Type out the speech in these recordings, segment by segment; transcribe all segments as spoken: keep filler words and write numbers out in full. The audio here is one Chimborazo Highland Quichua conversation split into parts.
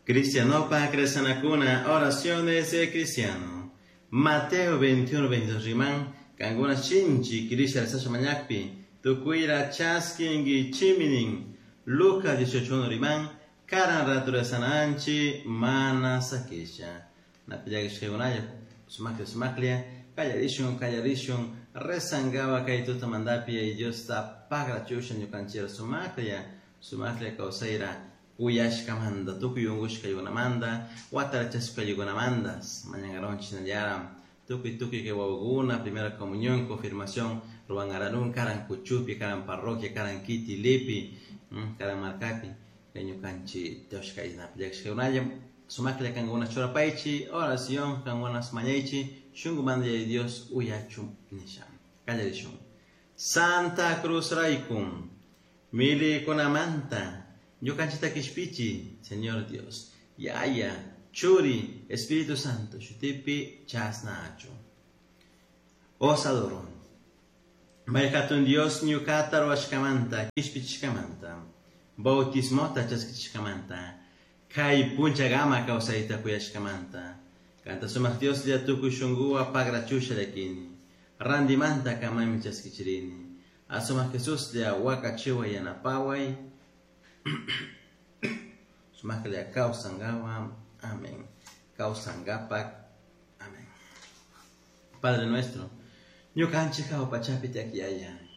Cristianopa Cresanacuna, oraciones de cristiano. Mateo veintiuno, veintidós riman, kankuna shinchi kirisha rezasha mañakpi, tukuira chaskingi chiminin. Lucas dieciocho uno riman, karan rato rezana anchi, mana sakisha. Napillakishkakunalla, sumaklia sumaklia, kallarishun, kallarishun, rezangawa kay tutamantapi y Diosta pagrachusha ñukanchira sumaklia, sumaklia kawsayra uyashkamanta, tukuy unkushkaykunamanta, watarachashkaykunamanta, mañankaronchik shinallara, tukuy tukuy kay wawakuna, primera comunión, confirmación, ruwankararun, karan kuchupi, karan parroquia, karan kiti, lipi, karan markapi, kay ñukanchik Dioska napillakishkakunalla, sumaklla kankuna churapaychi, oración kankuna mañaychi, shunkumanta Yaya Dios uyachun nisha. Kallarishun. Santa Cruz raykum, milikunamanta, ñukanchita kishpichi, Señor Dios, Yaya, Churi, Espíritu Santo, shutipi chasnachu. Os adoro. Mayhatun Dios ñukata ruwashkamanta, kishpichishkamanta, bautismota chaskichishkamanta, kay punchagama kawsayta kuyashkamanta, kanta sumaq Dios lla tukuy shunkuwa pagrachusha llakini, randimanta kamami chaskichirini, asumaq Jesús lla wakachiwa yanapaway, sumaqlla kawsangawa, amén. Kawsangapak, amén. Padre nuestro, ñukanchik hawa pachapi tiyaq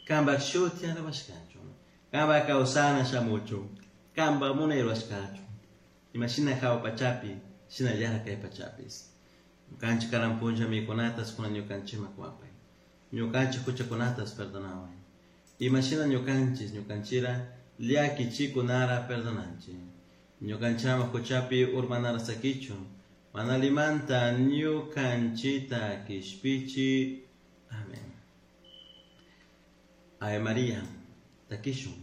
kanpak shuti alabashkachun, kanpak kawsana shamuchun, kanpak munay rurashkachun, imashina hawa pachapi, shinallara kay pachapis. Ñukanchik karan punlla mikunatas kunan ñukanchikman kuwapay, ñukanchik huchakunatas perdonaway, imashina ñukanchik ñukanchira llakichikunara perdonanchik, ñukanchama huchapi urmanara sakichun, mana limanta ñukanchita kishpichi. Amén. Ave María, takishun.